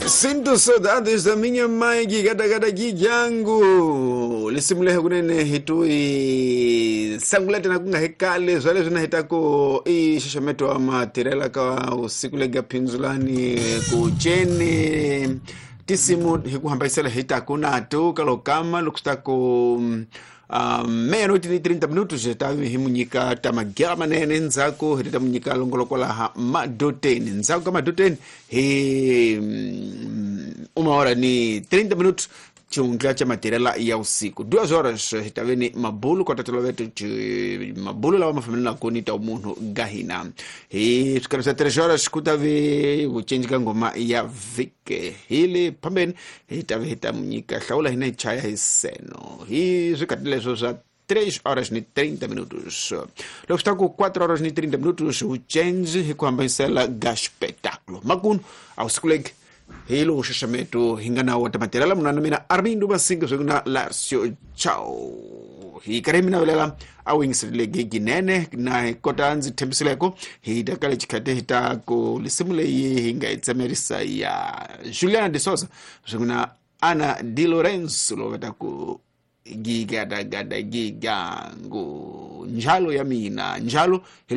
Sinto saudades da minha mãe gigadagada gijangu lisimulehe kunene hitui sangulete na kunga hekale zwale zwina hitako i xaxameto wa matirela ka usiku lega phindzulani ku ceni tisimu hi ku hambanyisela hi taku nato ka lokama loko swi ta ku meia-noite ni 30 minutos hi ta hi mu nyika ta magera manene ndzhaku hi ta mu nyika longoloko laha madoteni ndzhaku ka madoteni hi uma hora ni 30 minutos xihundla xa matirela ya usiku 2 horas hi ta ve ni mabulu kota toloveto mabulu lawa ma fambelanaku ni ta munhu ga hina. Hi swikarhi swa 3 horas ku ta ve vucinci ka ngoma ya vhike. Hi le phambeni hi ta ve hi ta mu nyika hlawula hina hi chaya hi seno hi swikhathi leswo swa 3 horas ni 30 minutos. Loko swi ta ku 4 horas ni 30 minutos, vucenzi hi ku hambanyisela ga xipetakulo makunu a wusiku legi hi lowu xaxameto hi nga na wa ta matirela munhu na mina Armindo Masinga swi na Larcio Chao hi karhi mi navelela a wu yingiserile ginene na hi kota ndzi tshembisileko hi ta kale xikhati hi ta ku lisimu leyi hi nga yi tsemerisa ya Juliana de Souza swi na Ana Di Lorenzo lowu va ta ku gigadagada gigangu njalo ya mina njalo hi.